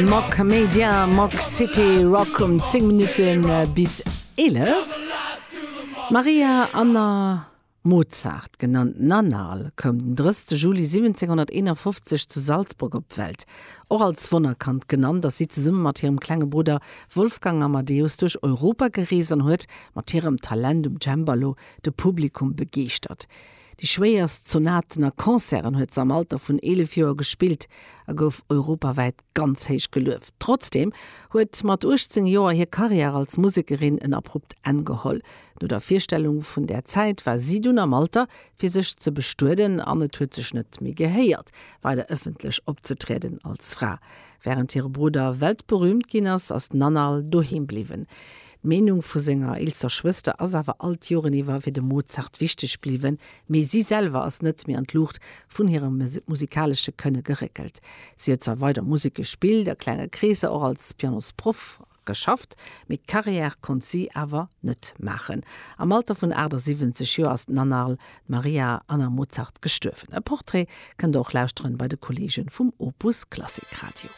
Mock Media, Mock City Rock um 10 Minutte bis 11. D'Maria Anna Mozart, genannt Nannerl, koum den 30 Juli 1751 zu Salzburg op d'Welt. Och als Wonnerkand genannt, ass si zesumme mat hirem klenge Brudder Wolfgang Amadeus duerch Europa gereest an huet mat hirem Talent um Cembalo de Publikum begeeschtert. Déi schwéierst Sonaten a Concerten huet se am Alter vun 11 Joer gespillt a gouf europawäit ganz héich gelueft. Trotzdeem huet mat 18 Joer hir Karriär als Musekerin en abrupt Enn geholl. No der Virstellung vun där Zäit war si dunn am Alter fir sech ze bestueden an et huet sech net méi gehéiert weider ëffentlech opzetrieden als Fra. Wärend hire Brudder weltberüümt ginn ass, ass d'Nannerl doheem bliwwen. D'Meenung vu senger eelster Schwëster ass awer all d'Joren iwwer fir de Mozart wichteg bliwwen, mee si selwer ass net méi an d'Luucht vun hirem musikalesche Kënne geréckelt. Si huet zwar weider Musek gespillt, a klenge Kreesser, och als Pianosproff geschafft, mee Carrière konnt si awer net maachen. Am Alter vun 78 Joer ass d'Nannerl, d'Maria Anna Mozart, gestuerwen. E Portrait kënnt der och lauschteren bei de Kolleege vum Opus Klassik Radio.